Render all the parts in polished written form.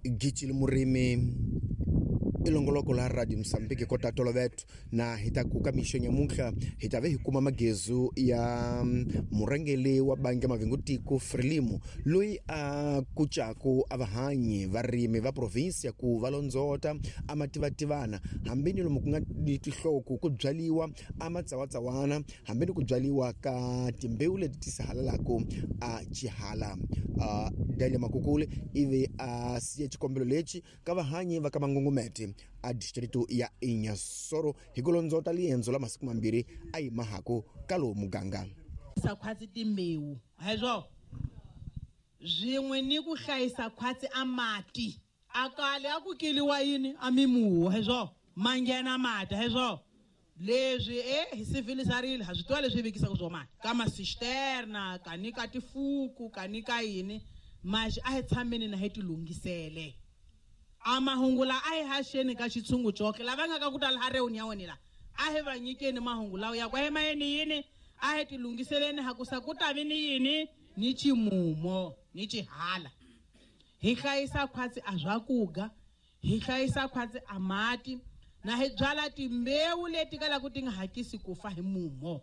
Gicile Murimi i longoloko la Radio Mozambique kota toloveto na hi ta ku ka mixo nyamuntlha hi ta ve hi kuma magezu ya murhangeri wa bangi ya mavingutiko Frelimo loyi a kucaku a vahanyi varimi va provinsi ya ku va londzota a mativativana hambi ni lomu ku nga ni tinhloko ku byaliwa a matsawatsawana hambi ni ku byaliwa ka timbewu leti ti sahalalaku a xihala. Daniel Makukule ivi a siya xikombelo lexi ka vahanyi va ka Mangungumete a distrito ya Inhassoro hi ku londzota liendzo la masiku mambirhi a yi mahaku ka lowu muganga. Sa khwatsi timbewu hezwo swin'we ni ku hlayisa khwatsi a mati a kale a ku keliwa yini a mimuhu hezwo manghena mati hezwo leswi hi civilisarile ha swi tiva leswi vekisaka swo mani ka masisterna ka ni ka tifuku ka ni ka yini maxi a hi tshameni na hi tilunghisele a mahungu la a hi haxeni ka xitshungu coke lava nga ka ku tala ha reuni ya wena la a hi va nyikeni mahungu lawa ya ku a hi mayeni yini a hi tilunghiseleni ha ku sa ku ta vi ni yini ni ximumo ni xihala hi hlayisa khwatsi a swakuga hi hlayisa khwatsi a mati na hi byala timbewu leti kalaka ti nga hakisi ku fa hi mumo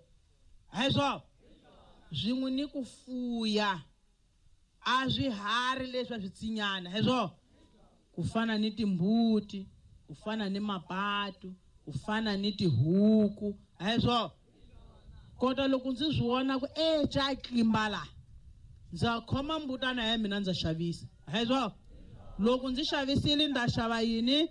hezwo swin'we ni ku fuya a swiharhi leswi a swi tsinyana hezwo ku fana ni timbuti ku fana ni mapatu ku fana ni tihuku hezwo kota loko ndzi swi vona ku ca tlimba la ndza khoma mbutana ya mina ndza xavisa hezwo loko ndzi xavisile nda xava yini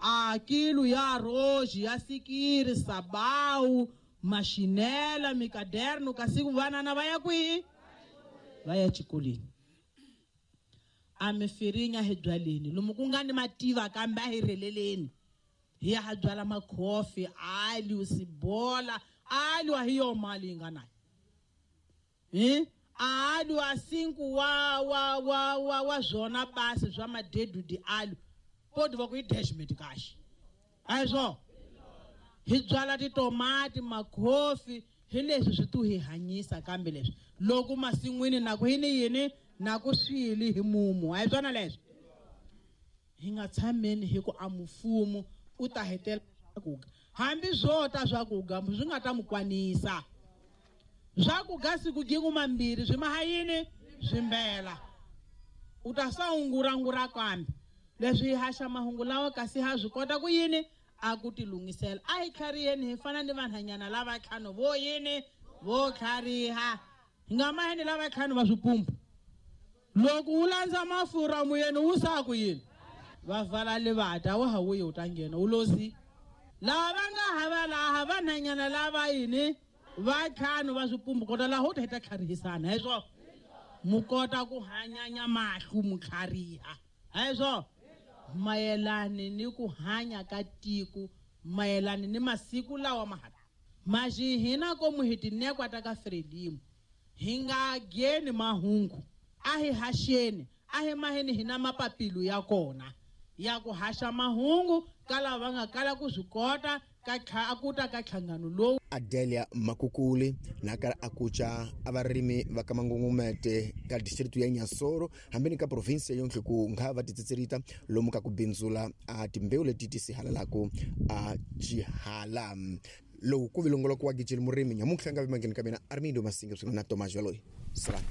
a kilo ya roji ya sikiri sabawu maxinela mikaderno kasi vanana va ya kwihi va ya xikolweni a mifirinya hi byaleni lomu ku nga ni mativa kambe a hi rheleleni hi ya ha byala makhofi alio sibola alio a hi yo mali yi nga nayo hi alio a sinku wa wa wa wa wa zwona basi swa madedudi alio podi va ku i dashment kahle a hi swona hi byala titomati makhofi hi leswi swi tu hi hanyisa kambe leswi loko masin'wini na ku yini yini na ku swili hi mumu a hi swona leswi hi nga tshameni hi ku a mufumo u ta hetela swakuga hambi swo ta swakuga swi nga ta mu kwanisa swakuga siku gingu mambirhi swi maha yini swimbela u ta sa ungurangura kambe leswi hi haxa mahungu lawa kasi ha swi kota ku yini a ku tilunghisela a hi tlhariheni hi fana ni vanhanyana lava ntlhanu vo yini vo tlhariha hi nga maheni lava ntlhanu va swipumbu loko wu landza mafurha muyeni wu sa ku yini va vala livata wa ha wuyi u ta nghena wu lozi lava va nga hava laha vanhanyana lava yini va ntlhanu va swipumbu kota laha u ta hi ta tlharihisana hi swo mu kota ku hanyanya mahlu mu tlhariha hi swo mayelani ni ku hanya ka tiko mayelani ni masiku lawa ma ha maxi hina komu hi tinekwa ta ka Frelimo hi nga geni mahungu a hi haxeni a hi maheni hina mapapilu ya kona ya ku haxa mahungu ka lava va nga kala ku swi kota ka ku ta ka nhlangano lowu. Adelia Makukule na kala a kuca a varimi va ka Mangungumete ka district ya Inhassoro hambi ni ka province ya yonhle ku nga va titsitserita lomu ka ku bindzula a timbewu leti ti sihalalaku a xihala lowu ku vilongoloko wa Gicile Murimi nyamuntlha nga vimangeni ka mina Armindo Masinga swin'we na Thomas Jaloyi salani.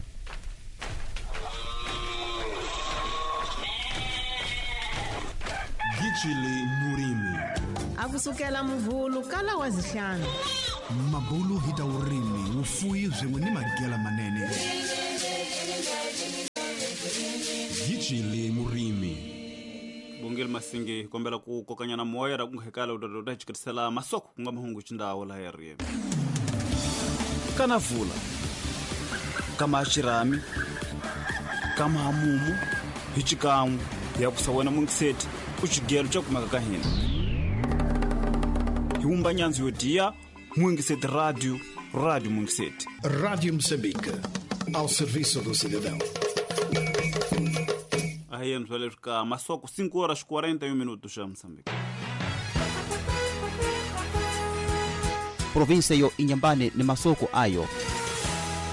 Gicile Murimi a kusukela muvhulu kala wa zihlanu mabulu hi ta vurimi vufuyi swin'we ni magela manene. Gicile Murimi Bongile Masinge kombela ku kokanyana moya ra ku nghekala u ta hi masoko ku nga mahungu xindawo laha ya ri kana vula kama xirhami kama hamumu hi xikan'we ya kusa wena mungiseti u xigelo xa kumeka ka hina hi wumba nyandzu yo diya Mungiseti Radio, Rádio Mungiseti. Rádio Moçambique, ao serviço do cidadão. Aí vamos olhar cá, mas só com 5 horas 41 minutos já Moçambique. Província yo Inhambane ni masoko ayo.